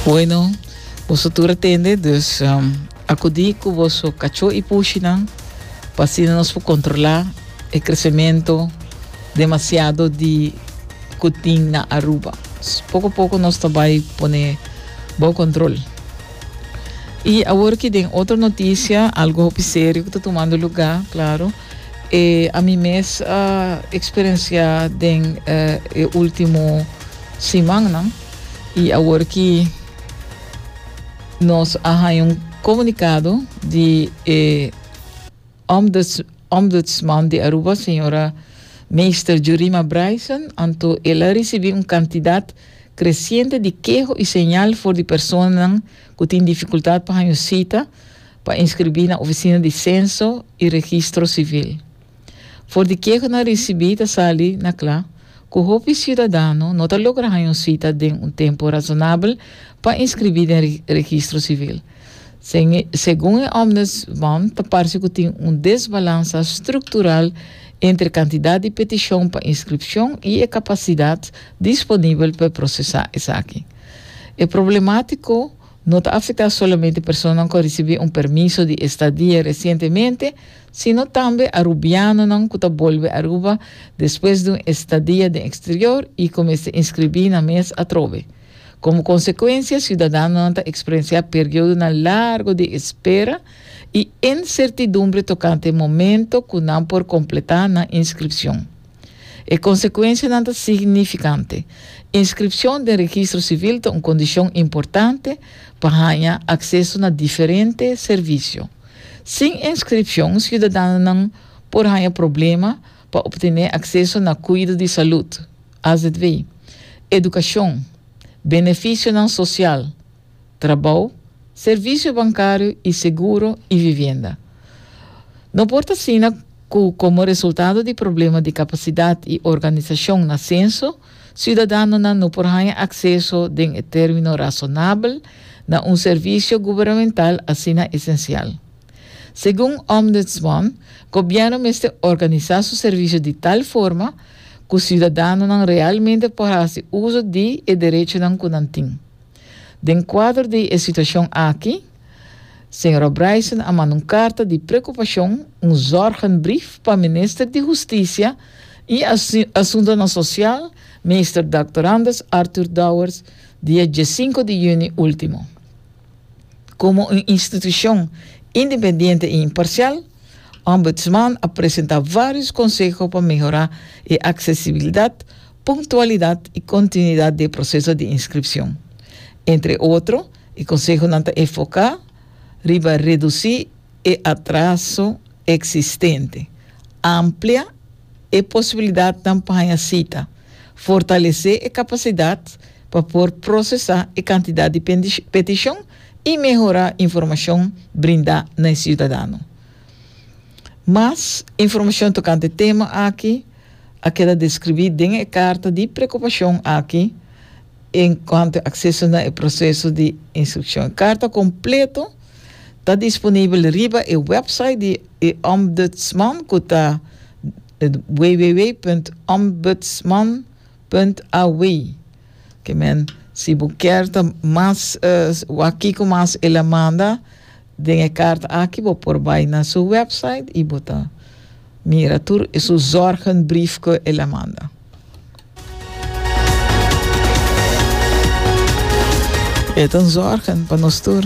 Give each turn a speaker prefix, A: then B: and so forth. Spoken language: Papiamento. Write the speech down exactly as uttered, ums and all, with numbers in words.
A: Bueno, boso tur a tende, dus um, akudí ku boso kachó i pushinan, pa asina nos por kontrolá e kresementu demasiado di ku tin na Aruba. Poko poko nos ta bai pone bou kontrol. I awor ku tin otro notisia, algu serio ku ta tumando lugá, klaro. E ami mes a eksperensiá den eh, último siman, no? I awor ku nos a un komunikado di eh, ombuds, ombudsman di Aruba, señora Meester Jurima Bryson, anto el a risibí un kantidat kresiente di keho i señal for di personanan ku tin difikultat pa un sita pa inskribí na ofisina di Senso i Registro Sivil. For di kehonan risibí ta sali na kla ku hopi siudadano no ta logra un sita den un tempu rasonabel pa inskribí den registro sivil. Segun e ombudsman, ta parse ku tin un desbalansa struktural entre kantidat di petishon pa inskripshon i e kapasidat disponibel pa prosesá esaki. E problemátika no ta afektá solamente personanan ku a risibí un permiso di estadia resientemente, sino tambe arubianonan ku ta bolbe Aruba despues di un estadia den eksterior i kuminsá inskribí nan mes atrobe. Komo konsekuensia, siudadanonan ta eksperensiá periodonan largu di espera i insertidumbre tokante e momento ku nan por kompletá nan inskripshon. E konsekuensianan ta signifikante. Inskripshon den registro sivil ta un kondishon importante pa haña akseso na diferente servisio. Sin inskripshon, siudadanonan por haña problema pa optené akseso na kuido di salú, A Z V, edukashon, benefisionan sosial, trabou, servisio bankario i seguro i vivienda. No por ta asina ku komo resultado di problema di kapasidat i organisashon na Senso, siudadanonan no por haña akseso den término rasonabel na un servisio gubernamental asina esensial. Segun Ombudsman, gobièrnu mester organisá su servisio di tal forma ku siudadanonan realmente por hasi uso di e derechonan ku nan tin. Den kuadro di e situashon aki, señora Bryson a manda un karta di preokupashon, un zorgenbrief pa Minister di Hustisia i Asuntunan Sosial, Minister Doctor Andres Arthur Dowers, dia diesinku di yüni último. Komo un institushon independiente i imparsial, Ombudsman a presentá vários konseho pa mehorá e aksesibilidat, puntualidat i kontinuidat di e proseso di inskripshon. Entre otro, e konsehonan ta enfoká riba redusí e atraso eksistente, amplia e posibilidat pa sita, fortalesé e kapasidat pa por prosesá e kantidat di petishon i mehorá informashon brindá na siudadano. Mas informashon tokante e tema aki, a keda deskribí den e karta di preokupashon aki enkuanto akseso na proseso di inskripshon. Karta kompleto ta disponibel riba e website di Ombudsman, ku ta w w w punt ombudsman punt a w. Ke men, si bo ke mas uh, aki ku mas el a manda den e karta aki, bo por bai na su website i bo ta mira tur e su zorgenbrief ku el a manda. E ta un zorgen pa nos tur.